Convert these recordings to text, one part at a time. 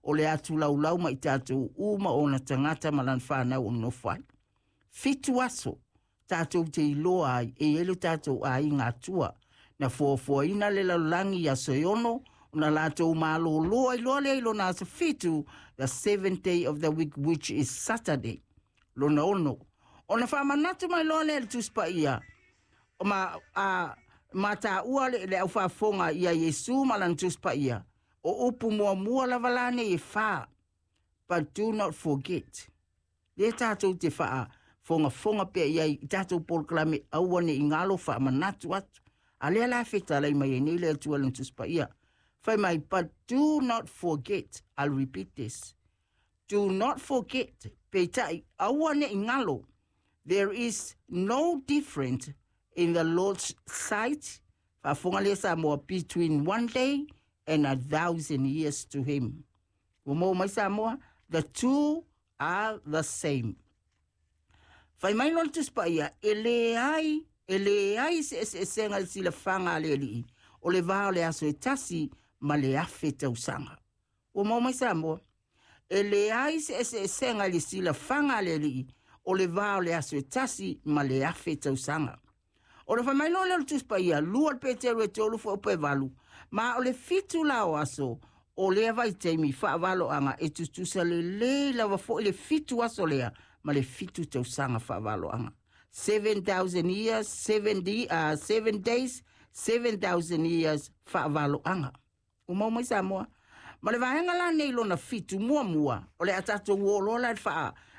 O le atulaulau ma i tatou uma ona tagata ma lana fanau o nonofo ai. 7 aso tatou te iloa ai e i ai lo tatou aiga Atua. Na fuafuaina le lalolagi i aso e 6, ona latou malolo ai loa lea i lona aso 7, the 7th day of the week, which is Saturday. Lona 6. Ona faamanatu mai loa lea le Tusi Paia, ma taua le aufaafofoga ia Iesu ma lana Tusi Paia, o upu muamua lava la nei e 4, but do not forget. Le tatou te faafogafoga pea i ai i tatou polokalame aua ne i galo faamanatu atu. A lea la fetalai mai ai nei le Atua lana Tusi Paia. Fai mai, but do not forget. I'll repeat this. Do not forget. Peitai, aua ne i galo. There is no difference in the Lord's sight, faafofoga lea Samoa, between one day and 1,000 years to him. Ua maua mai Samoa, the two are the same. Fai mai lona Tusi Paia, e leai se eseesega i le silafaga a le Alii, o le va o le aso e tasi ma le 1,000 tausaga. Ua maua mai Samoa, e leai se eseesega i le silafaga a le Alii, o le va o le aso e tasi ma le 1,000 tausaga. O le fai mai loa lea o le Tusi Paia, 2 Peteru e 3 fuaiupu e 8, ma o le 7 la o aso, o lea vaitaimi faavaloaga e tutusa lelei lava foi le 7 aso lea ma le 7 tausaga faavaloaga. 7,000 years, 7 days, 7,000 years faavaloaga. Ua maua mai Samoa. Ma le vaega la nei lona 7 muamua, o le a tatou o loa la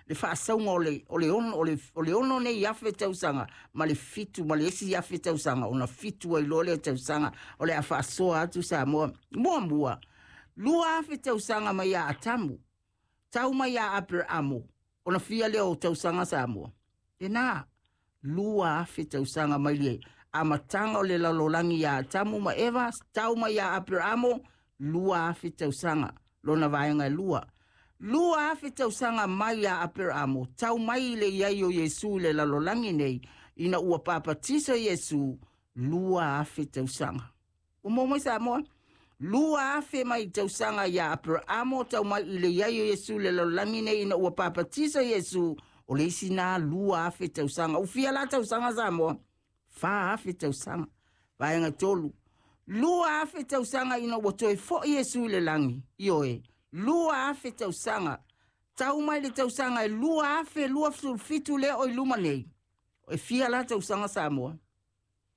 le faasauga o le 6 nei 1,000 tausaga ma le 7 ma le isi 1,000 tausaga, ona 7 ai loa lea tausaga o le a faasoa atu Samoa. Muamua, 2,000 tausaga mai ia Atamu, tau mai ia Aperamo, ona fia lea o tausaga Samoa. Lena, 2,000 tausaga mai le amataga o le lalolagi ia Atamu ma Eva, tau mai ia Aperamo, 2,000 tausaga, lona vaega e 2. 2,000 tausaga mai ia Aperamo, tau mai le iai o Iesu i le lalolagi nei, ina ua papatiso Iesu, 2,000 tausaga. Ua maua mai Samoa? 2,000 mai tausaga ia Aperamo, tau mai i le iai o Iesu i le lalolagi nei, ina ua papatiso Iesu, o le isi nā 2,000 tausaga. Ufia la tausaga Samoa? 4,000 tausaga. Vaega 3. 2,000 tausaga ina ua toe foi Iesu i le lagi, ioe, 2,000 tausaga. Tau mai le tausaga e 2,027 lea o i luma nei. E fia la tausaga Samoa?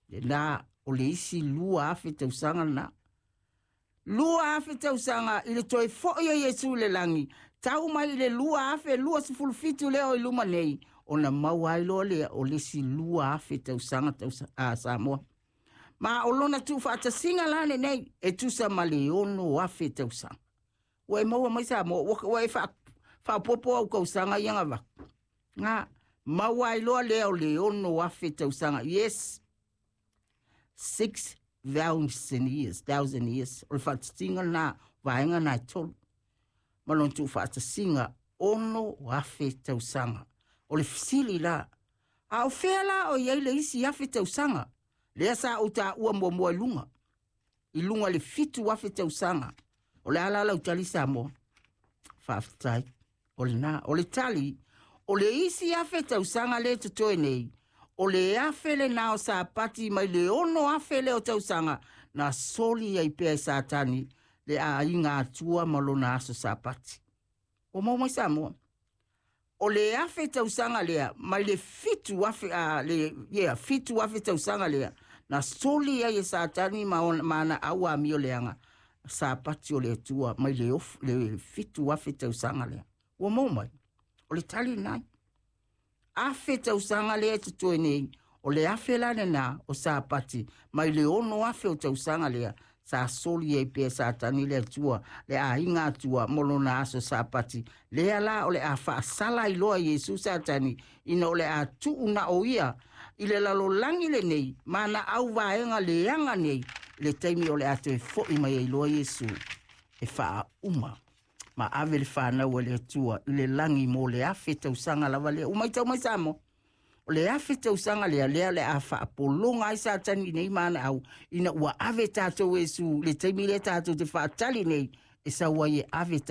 Lena, o le isi 2,000 tausaga na. 2,000 tausaga i le toe foi o Iesu i le lagi, tau mai i le 2,027 lea o i luma nei, ona maua ai loa lea o le isi 2,000 tausaga Samoa. Ma o lona tuufaatasiga la lenei, e tusa ma le 6,000 tausaga. Ua e maua mai Samoa, ua e faapopo au tausaga ia gavaku. Ngā, maua ai loa lea o le 6,000 tausaga. Yes, 6,000 years, 1,000 years. O le faatasiga lena, vaega na e 3. Ma lona tuufaatasiga, 6,000 tausaga. O le fesili la, a o fea la o i ai le isi 1,000 tausaga? Lea sa ou taua muamua i luga. I luga le 7,000 tausaga. O le ala lau tali Samoa. Faafetai. O le na, o le tali, o le isi 1,000 tausaga le totoe nei, o le 1,000 le na o Sapati mai le 6,000 le o tausaga, na soli ai pea e Satani le aiga Atua ma lona aso Sapati. O maua mai Samoa. O le 1,000 tausaga lea, mai le 7,000, 7,000 tausaga lea, na soli ai e Satani ma ana au amio leaga, Sapati o le Atua mai le 7,000 tausaga lea. Ua maua mai, o le tali nai. 1,000 tausaga lea e totoe nei, o le 1,000 la lena o Sapati, mai le 6,000 o tausaga lea, sa soli ai pea Satani le Atua, le aiga Atua mo lona aso Sapati. Lea la o le a faasala ai loa Iesu Satani, ina o le a tuu na o ia i le lalolagi lenei, ma na au vaega leaga nei, le taimi o le a toe foi mai ai loa Iesu e faauma ma ave le fanau a le Atua i le lagi mo le 1,000 tausaga lava lea. Ua maitau mai Samoa, o le 1,000 tausaga lea, lea le a faapologa ai Satani nei ma ana au, ina ua ave tatou Iesu le taimi lea tatou te faatali nei, e sau ai e ave